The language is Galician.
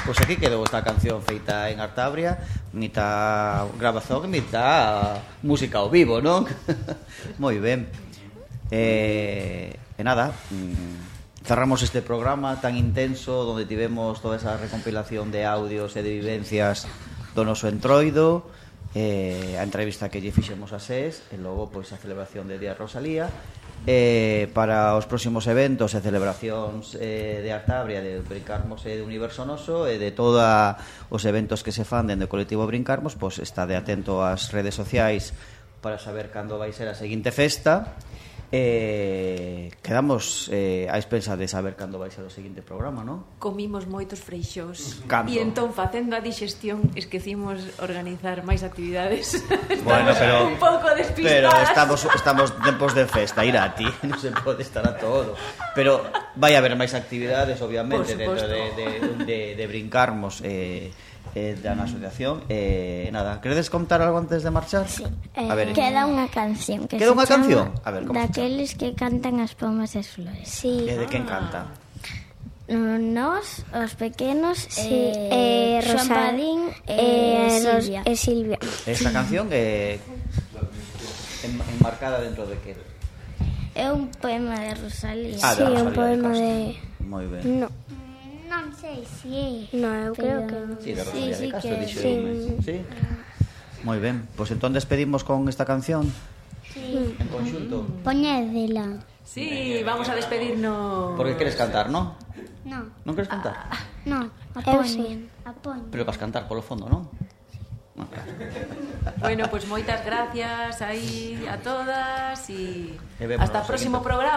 Pois aquí quedou esta canción feita en Artabria, mitad grabación e mitad música ao vivo, non? Moi ben. E nada, cerramos este programa tan intenso onde tivemos toda esa recompilación de audios e de vivencias do noso entroido, a entrevista que lle fixemos a SES e logo pois a celebración de Día Rosalía. Para os próximos eventos e celebracións de Artabria, de Brincarmos e de Universo Noso e de todos os eventos que se fan dende o colectivo Brincarmos, pois estade atento ás redes sociais para saber cando vai ser a seguinte festa. Quedamos á expensa de saber cando vai ser o seguinte programa, non? Comimos moitos freixós. Canto? E entón, facendo a dixestión, esquecimos organizar máis actividades. Bueno, pero un pouco despistadas. Pero estamos tempos de festa, Irati, non se pode estar a todo. Pero vai haber máis actividades, obviamente, dentro de Brincarmos da asociación. Nada, queredes contar algo antes de marchar? Sí. A ver, Queda unha canción que queda unha se canción? chama A ver, como se Daqueles que cantan as pomas e as flores. Sí. E de quen canta? Nós, os pequenos, Rosa- Padín e Silvia. Esta canción é enmarcada dentro de que? É un poema de Rosalía. Ah, Sí, de un Rosalía poema Castro. de... Moi ben. No, Non sei se é. no, eu creo que non. Sí, de Rosalía Sí, de Castro, que dixo sí. sí. Moi ben, pois entón despedimos con esta canción Sí. en conxunto. Poñédela. Sí, vamos a despedirnos. Porque queres cantar, non? Non, Non queres cantar? non, Eu sí. apoñen. Pero vas cantar polo fondo, non? Non, claro. Bueno, pues moitas gracias aí a todas e E vémonos hasta o no próximo seguinte. programa.